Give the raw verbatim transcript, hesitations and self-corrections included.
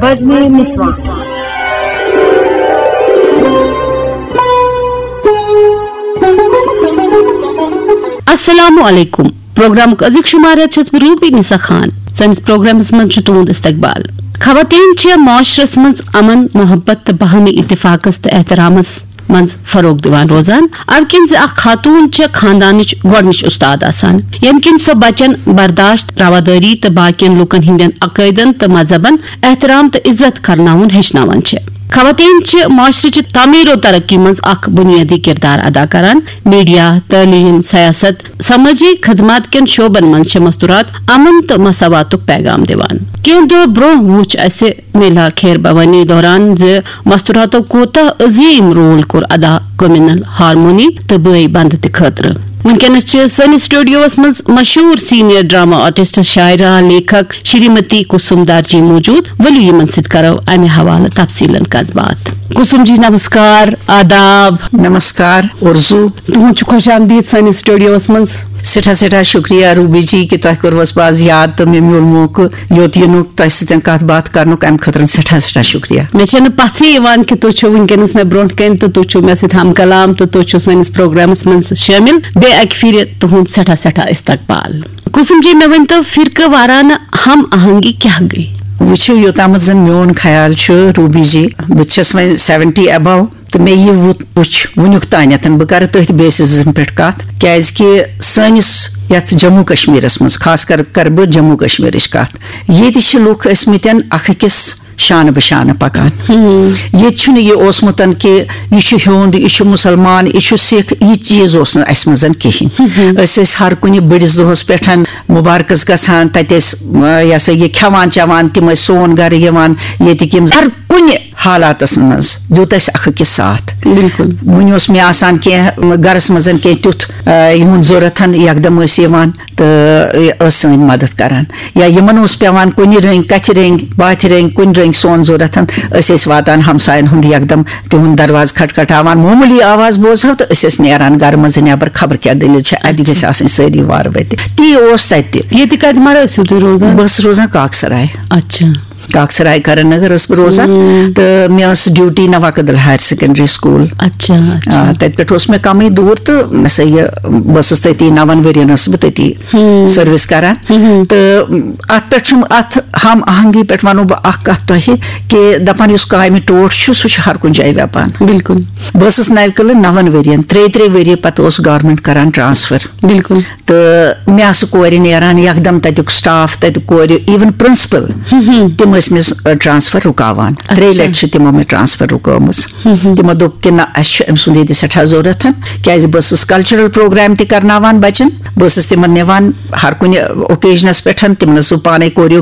وزنی نسوان۔ السلام علیکم۔ پروگرامُک أزیُک شمارٕ چھَس بہٕ روبی نسا خان۔ سٲنِس پروگرامس منٛز چھُ تُہُنٛد استقبال۔ خواتین چھِ معاشرس منٛز امن، محبت تہٕ باہمی اتفاقس تہٕ احترامس منٛز فروغ دِوان روزان۔ امہِ کِنۍ زِ اکھ خاتون چھِ خاندانٕچ گۄڈٕنِچ استاد آسان، ییٚمہِ کِنۍ سۄ بچن برداشت، روادٲری تہٕ باقین لوٗکن ہٕنٛدٮ۪ن عقٲیدن تہٕ مذہبن احترام تہٕ عزت کرناوُن ہیٚچھناوان چھِ۔ خواتین چھِ معاشرٕچہِ تعمیٖر و ترقی منٛز اکھ بُنیٲدی کِردار ادا کران۔ میڈیا، تعلیٖم، سیاست، سمٲجی خدمات کٮ۪ن شعبن منٛز چھِ مستورات امن تہٕ مساواتُک پیغام دِوان۔ کینٛہہ دۄہ برٛونٛہہ وُچھ اسہِ میلا خیر بھوانی دوران زِ مستوراتو کوتاہ عظیٖم رول کوٚر ادا کمیونل ہارمونی تہٕ بٲے بنٛد تہِ خٲطرٕ۔ وٕنکیٚنس چھِ سٲنِس سٹوڈیوس منٛز مشہوٗر سینئر ڈرامہ آرٹسٹ، شاعرہ، لیکھک شریمتی کسم دارجی موجود۔ ؤلِو یِمن سۭتۍ کرو امہِ حوالہٕ تفصیٖلن کتھ باتھ۔ کسم جی، نمسکار، آداب۔ نمسکار، اُرزو۔ تُہُنٛد چھُ خۄش آمدید سٲنِس سٹوڈیوس منٛز۔ سٮ۪ٹھاہ سٮ۪ٹھاہ شُکریہ روبی جی کہِ تۄہہِ کوٚروَس بہٕ آز یاد تہٕ مےٚ میوٗل موقعہٕ یوٚت یِنُک، تۄہہِ سۭتۍ کَتھ باتھ کَرنُک، اَمہِ خٲطرٕ سٮ۪ٹھاہ سٮ۪ٹھاہ شُکریہ۔ مےٚ چھَنہٕ پَژھٕے یِوان کہِ تُہۍ چھِو وٕنکیٚنَس مےٚ برونٛٹھ کَنہِ تہٕ تُہۍ چھِو مےٚ سۭتۍ ہم کلام تہٕ تُہۍ چھِو سٲنِس پروگرامَس منٛز شٲمِل۔ بیٚیہِ اَکہِ پھِرِ تُہُنٛد سٮ۪ٹھاہ سٮ۪ٹھاہ استقبال۔ کُسُم جی، مےٚ ؤنۍ تو، فرقہٕ وارانہٕ ہم آہنگی کیٛاہ گٔے؟ وٕچھِو، یوٚتامَتھ زَن میون خیال چھُ روبی جی، بہٕ تہِ چھَس وۄنۍ سیونٹی ابو، تہٕ مےٚ یہِ وُ-، وُچھ وٕنیُک تانٮ۪تھ، بہٕ کَرٕ تٔتھۍ بیسِزَن پٮ۪ٹھ کَتھ، کیٛازِکہِ سٲنِس یَتھ جموں کشمیٖرَس منٛز، خاص کر کَرٕ بہٕ جموں کشمیٖرٕچ کَتھ، ییٚتہِ چھِ لُکھ ٲسۍ مٕتٮ۪ن اَکھ أکِس شانہٕ بہٕ شانہٕ پَکان۔ ییٚتہِ چھُنہٕ یہِ اوسمُت کہِ یہِ چھُ ہیوٚنٛد، یہِ چھُ مُسلمان، یہِ چھُ سِکھ، یہِ چیٖز اوس نہٕ اَسہِ منٛز کِہیٖنۍ۔ أسۍ ٲسۍ ہر کُنہِ بٔڑِس دۄہَس پٮ۪ٹھ مُبارکَس گژھان، تَتہِ ٲسۍ، آ، یہِ ہسا یہِ کھٮ۪وان چٮ۪وان، تِم ٲسۍ سون گَرٕ یِوان، ییٚتِکۍ یِم ہر کُنہِ حالاتس منٛز دیُت اَسہِ اکھ أکِس ساتھ۔ بِلکُل۔ وُنہِ اوس مےٚ آسان کینٛہہ گرس منٛز کینٛہہ تیُتھ، آ، یِہُنٛد ضروٗرت، یکدم ٲسۍ یِوان تہٕ ٲسۍ سٲنۍ مدد کران۔ یا یِمن اوس پٮ۪وان کُنہِ رٔنگۍ، کتھِ رٔنگۍ، باتھِ رٔنگۍ، کُنہِ رٔنگۍ سون ضروٗرت، أسۍ ٲسۍ واتان ہمساین ہُنٛد یکدم تِہُنٛد دروازٕ کھٹکھٹاوان، معموٗلی آواز بوزہو تہٕ أسۍ ٲسۍ نیران گرٕ منٛز نٮ۪بر، خبر کیٛاہ دٔلیٖل چھےٚ، اتہِ گژھِ آسٕنۍ سٲری وارٕ وٲتِتھ۔ تی اوس تتہِ۔ ییٚتہِ کتہِ مرٕ ٲسِو تُہۍ روزان؟ بہٕ ٲسٕس روزان کاکسراے۔ اچھا۔ کاکسراے کرن نگر ٲسٕس بہٕ روزان۔ تہٕ مےٚ ٲس ڈیوٹی نواکدل ہایر سیکنڈری سکول۔ اچھا، اچھا۔ آ، تتہِ پٮ۪ٹھ اوس مےٚ کمٕے دوٗر تہٕ مےٚ سا یہِ، بہٕ ٲسٕس تٔتی، نون ؤرین ٲسٕس بہٕ تٔتی سٔروِس کران۔ تہٕ اتھ پٮ۪ٹھ چھُم، اتھ ہم آہنگی پٮ۪ٹھ ونو بہٕ اکھ کتھ تۄہہِ کہِ دپان یُس کامہِ ٹوٹھ چھُ، سُہ چھُ ہر کُنہِ جایہِ ویپان۔ بِلکُل۔ بہٕ ٲسٕس نوِ کلہٕ نون ؤرین، ترٛیہِ ترٛیہِ ؤری پتہٕ اوس گورمنٹ کران ٹرانسفر۔ بِلکُل۔ تہٕ مےٚ آسہٕ کورِ نیران یکدم، تتیُک سٹاف، تتیُک کورِ، ایون پرنسپل، تِم ٲسۍ مےٚ ٹرانسفر رُکاوان۔ ترٛیٚیہِ لٹہِ چھِ تِمو مےٚ ٹرانسفر رُکٲومٕژ۔ تِمو دوٚپ کہِ نہ، اسہِ چھُ أمۍ سُنٛد ییٚتہِ سٮ۪ٹھاہ ضروٗرت، کیازِ بہٕ ٲسٕس کلچرل پروگرام تہِ کرناوان بچن، بہٕ ٲسٕس تِمن نِوان ہر کُنہِ اوکیجنس پٮ۪ٹھ، تِمن ٲسٕس بہٕ پانے choreography